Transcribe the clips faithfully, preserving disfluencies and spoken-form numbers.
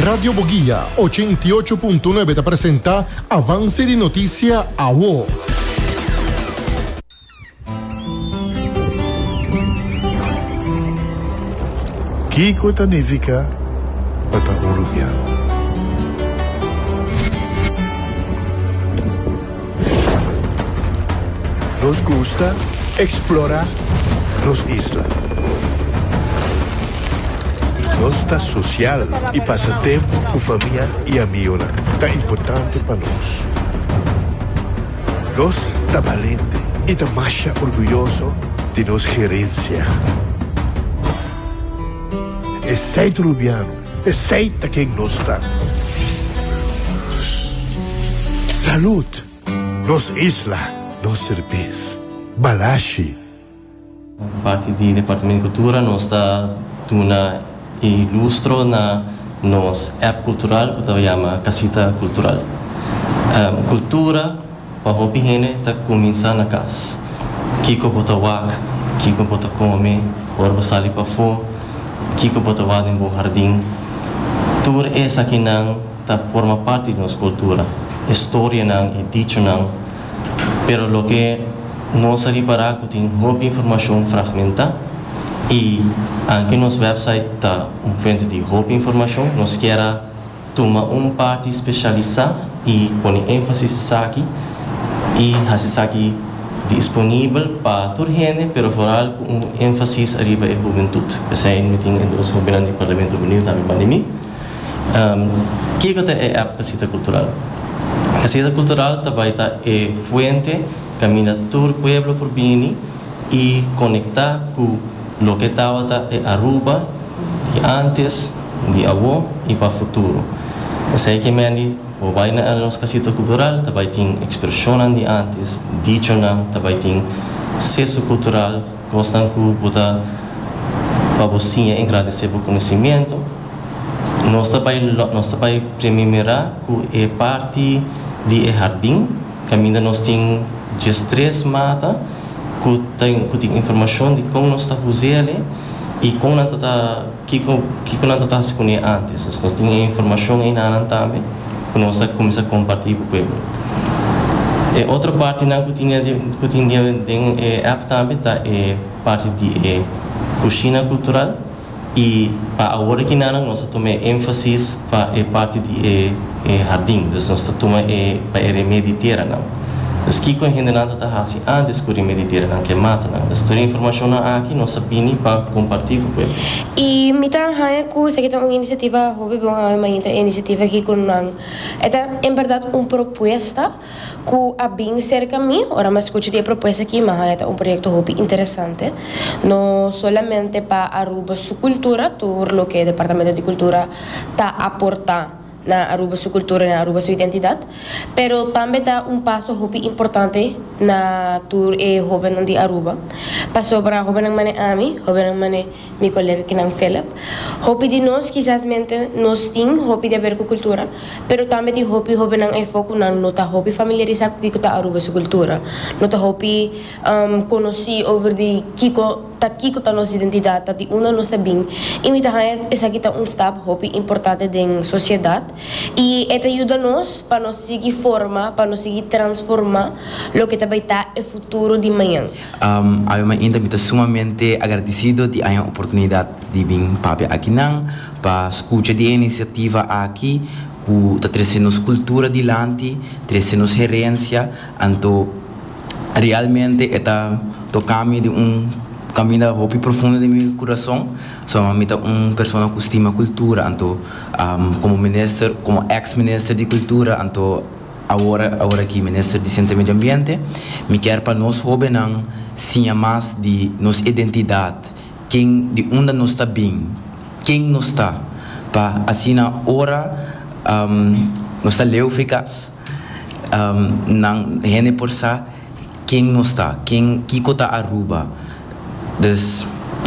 Radio Boguia ochenta i ocho punto nuebe ta presenta Avance di Noticia Awo. Kiko ta nifica pa ta un Rubiano? Nos gusta explora nos isla. Nos ta social y pasa tempo cu famia y amigo. Ta importante pa nos. Nos ta valiente y ta mas orguyoso di nos herencia. Esey ta Rubiano, esey ta ken nos ta. Salud, nos isla, nos cerbes, Balashi. Parti di Departamento di Cultura, nos ta duna lustro na nos app cultural cu ta yama Casita Cultural. Um, cultura, pa hopi hende, ta cuminsa na cas. Kiko bo ta wak, kiko bo ta come, ora bo sali pafo, kiko bo ta wak den bo hardin. Tur esakinan ta forma parti di nos cultura. Historianan y dichonan. Pero loke nos a ripara cu tin hopi informacion fragmenta y aunke nos website ta un fuente di hopi informacion, nos kier tuma un parti specialisa y pone enfasis aki y haci esaki disponibel pa tur hende, pero vooral cu un enfasis ariba e hubentud. Esey mi tin dos hobennan di Parlamento Hubenil tambe banda mi. Um, Kiko ta e app Casita Cultural? Casita Cultural tambe ta e fuente caminda tur pueblo por bini y conecta cu loke tabata e Aruba di antes, di awo y pa futuro. Esey kiermen, bo bay na nos Casita Cultural, tambe tin expresion di antes, dichonan, tambe tin acceso cultural, cosnan cu bo ta pa bo engrandece e conocimento. Nos tambe nos tambe premira cu e parti di hardin, caminda nos tin diestres mata, cu tin cu tin informacion di con nos ta usando y con nan ta kiko kiko nan ta cu antes. Nos tin informacion ey tambe, cu nos ta cuminsa comparti cu e pueblo. E otro partinan cu tin cu tin den e app tambe ta e parti di e cushina cultural y pa awor aki nos ta tuma enfasis pa e parti di e, e hardin, dus nos ta tuma e pa e remedi teranan. Dus kiko hende nan ta hasi antes cu remedi teranan cu matanan. Dus tur informacion aki nos a bini pa comparti cu e pueblo. Y mi ta haya cu esaki ta un iniciativa hopi bon. E iniciativa aki cu nan ta en berdad un propuesta cu a bin cerca mi. Ora mi a scucha e propuesta aki, mas ta un proyecto hopi interesante, no solamente pa Aruba su cultura, tur loke Departamento di Cultura ta aporta na Aruba su cultura, na Aruba su identidad, pero tambe ta un paso hopi importante na tur e hobennan di Aruba. Pasobra hobennan mane ami, hobennan mane mi colega kinan Philip. Hopi di nos kisas mente nos tin hopi di haber cu cultura, pero tambe tin hopi hobennan eyfo cu nan no ta hopi familiarisa cu kico ta Aruba su cultura. No ta hopi um, conoci over di kiko ta kiko ta nos identidad, ta di unda nos ta bin. Y mi ta haya esaki ta un stap hopi importante den sociedad y e ta yuda nos pa nos sigui forma, pa nos sigui transforma loke tambe ta e futuro di mañan. Um, ami ainda mi ta sumamente agradecido di e oportunidad di bin papia akinan pa scucha di e iniciativa aki cu ta trece nos cultura dilanti, trece nos herencia, anto realmente ta toca mi di un caminda hopi profundo di mi curason. So, mi ta un persona cu stima cultura, anto um, como minister, como ex-minister di cultura, anto awor awor aki minister di Ciencia y Medio Ambiente, mi kier pa nos hobennan siña mas di nos identidad, ken di unda nos ta bin, ken nos ta, pa asina ora um, nos ta leu for di cas, um, nan hende por sa ken nos ta, ken kiko ta Aruba. Dus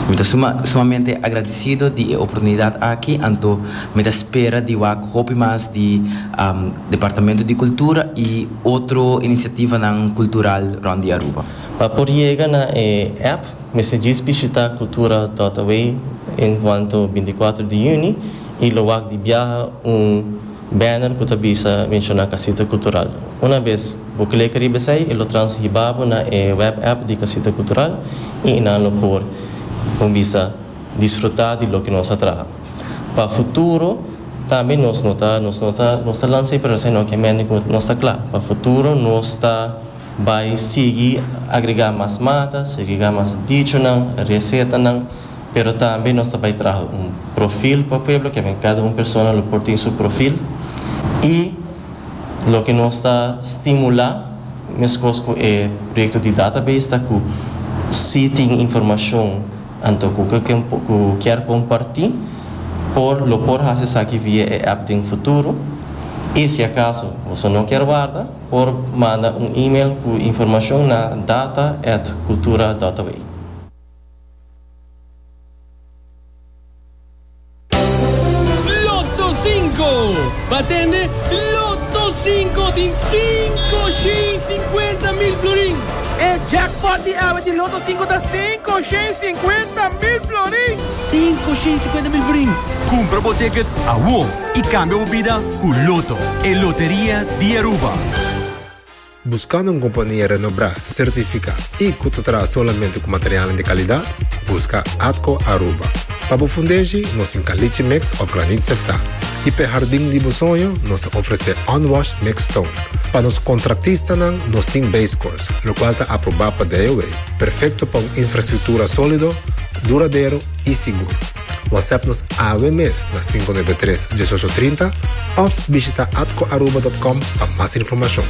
mi ta suma, sumamente agradecido di e oportunidad aki, anto mi ta spera di wak hopi mas di um, Departamento di Cultura y otro iniciativanan cultural rond di Aruba. Pa por yega na e app Mester djis bishita cultura punto A W encuanto binticuater di juni y lo wak di biaha un banner cu ta bisa menciona Casita Cultural. Un bes bo click riba esey, e lo transhiba bo na e web app di Casita Cultural y nan lo por un bisa disfruta di loke nos a traha. Pa futuro tambe nos no ta nos no ta nos ta lansa, pero esey no kiermen nos ta cla. Pa futuro nos ta bay sigui agrega mas mata, agrega mas dichonan, recetanan, pero tambe nos ta bay traha un perfil pa pueblo, cu cada un persona lo por tin su perfil y loke nos ta stimula, mescos cu e proyecto di database, ta cu si tin informacion anto cu cu kier comparti, por lo por haci esaki via e app den futuro y si acaso bo no kier warda, por manda un e-mail cu informacion na data arroba cultura punto A W. Lotto cinco! Batende Lotto cinco tin cinco mil florin! E jackpot di awe di Lotto cinco ta cinco mil florin! cinco mil florin! Cumpra bo ticket awo y cambia bo bida cu Lotto, e loteria di Aruba. Buscando un compania renombra, certifica y cu ta traha solamente cu material di calidad? Busca Atco Aruba. Pa bo fundeshi, nos tin caliche mix of graniet sefta. Y pa hardin di bo soño, nos ta ofrece unwashed mixed stone. Pa nos contratistanan, nos tin base course, locual ta aproba pa D O E. Perfecto pa un infrastructura solido, duradero y sigur. WhatsApp nos awe mes na cinco nuebe tres uno ocho tres cero of bishita atcoaruba punto com pa mas informacion.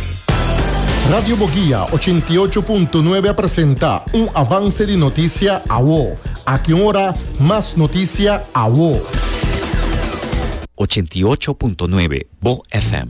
Radio Boguia ochenta y ocho punto nuebe presenta un avance di noticia awo. Aki ora, mas noticia awo. ochenta y ocho punto nuebe Bo F M.